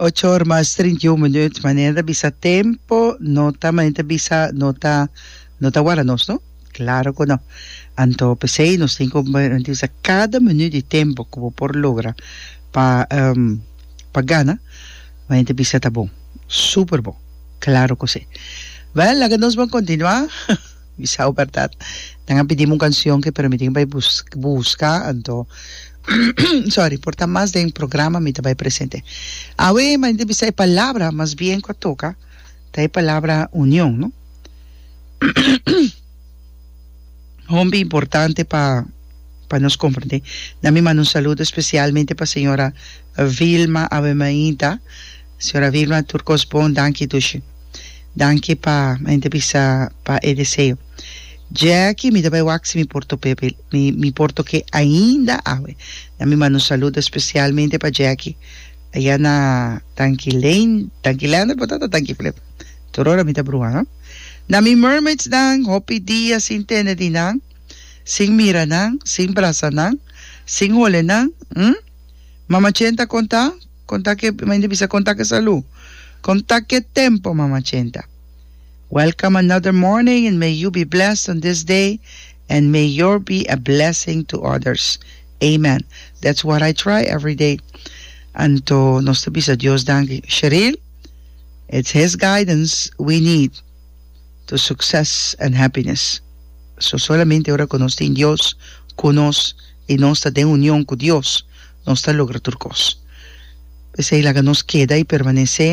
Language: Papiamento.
Ocho or mas 31 minuut. Manera ta bisa tempo no ta manera ta bisa no ta no ta warda nos no. Claro cu no. Anto p'esey nos tin cu bisa cada minuut di tempo cu bo por logra pa pa gana manera ta bisa ta bon. Super bon. Claro cu si. Well laga nos ban continua. Bisa bo berdad. Nan a pidi mi un cancion ke pero mi tin bai busca anto sorry por ta mas den programa mi ta bai presente. Awe mi ta bisa e palabra mas bien cu a toca ta e palabra union no. Hombi importante pa pa nos comprende. Na mi manda un saludo especialmente pa señora Vilma awe mainta. Señora Vilma tur cos bon danki dushi. Danki pa mi ta bisa pa e deseo. Jackie mi ta bai wak si mi por tope mi mi por toke ainda awe. Na mi manda un saludo especialmente pa Jackie aya na Tanki Lane, Tanki Lander por ta ta Tanki Flip. Tur ora mi ta bruha no. Na mi mermaids nan hopi dia sin tende di nan, sin mira nan, sin brasa nan, sin hole nan, hm? Mama Chen ta konta? Konta ke, mi ta bisa konta ke salu. Konta ke tempo, Mama Chenta. Welcome another morning and may you be blessed on this day and may your be a blessing to others. Amen. That's what I try every day. Anto nos ta bisa Dios danki. Sheril, it's His guidance we need to success and happiness. So solamente ora ku nos tin Dios ku nos i nos ta den union ku Dios, nos ta logra tur kos. P'esei laga nos keda i permanesé.